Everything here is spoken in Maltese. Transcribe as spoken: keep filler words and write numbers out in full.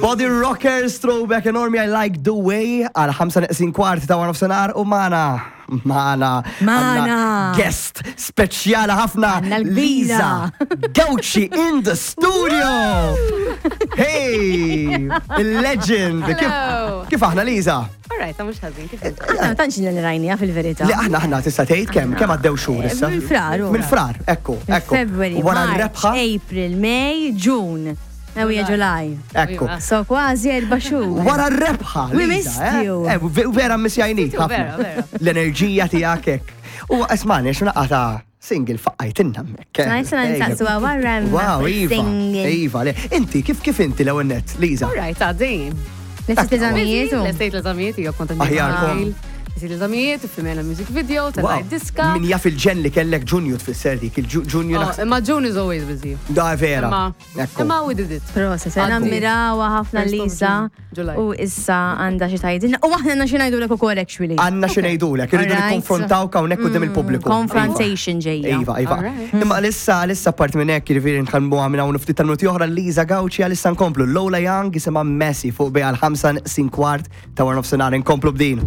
Body Rockers, throwback enormi, I Like The Way, għal ħamsa neqsin kwart ta' wara nofsinhar u magħna, magħna, Magħna. għandna guest speċjali ħafna, Għandna l-kbira. Lisa Gauci in the studio! Hey, il-legend! Kif, Hello. kif aħna, Lisa? All right, mhux ħażin, kif inti? Aħna ma tantx li rajnija fil-verità. Li aħna aħna tista' tgħid kemm kemm għaddew xhur issa? Minn Frar, u. Minn Frar, ekku, ekku. February, U Wara March, r-rebħa, April, May, June. Ewija July. ekku. So kważi erba' xhur. Wara r-rebħa. We Lisa, missed eh? you. Eh, ve- vera missjajnik you, ħafna. vera, vera. L-enerġija tiegħek hekk. U ismani, x'naqata single faqqajtinna hemmhekk. eh. Nice, nsaqsu wara Wow, Iva. single. Iva, le. Inti, kif kif inti l-ewwel nett, Liza? All right, għaddejjin. Lesti l-eżamijiet u. Lestejt l-eżamijiet, jo kont Aħjarkom. Lestejt l-eżamijiet, filmejna music video, Wow. telajt diska. Min jaf il-ġen li kellek Ġunju tfisser dik, il-Ġunju Oh, naħseb. Imma June is always busy. Da vera. Imma, Ekku. imma we did it. Proset, se Għaddi. nammirawa ħafna First of Lisa June, July. u issa għandha xi tgħidilna. U aħna għandna xi ngħidulek ukoll actually. Għandna xi ngħidulek, irridu Alright. nikkonfrontaw hawnhekk quddiem il-pubbliku. Confrontation ġejja. Iva, Iva. Alright. Imma għalissa, għalissa part minn hekk, jiġifieri nħalmu minn hawn ftit tal-minuti oħra Liza Gauci għalissa nkomplu. Lola Young jisimha Messi fuq bi għal ħamsa neqsin kwart ta' wara nofsinhar nkomplu b'din.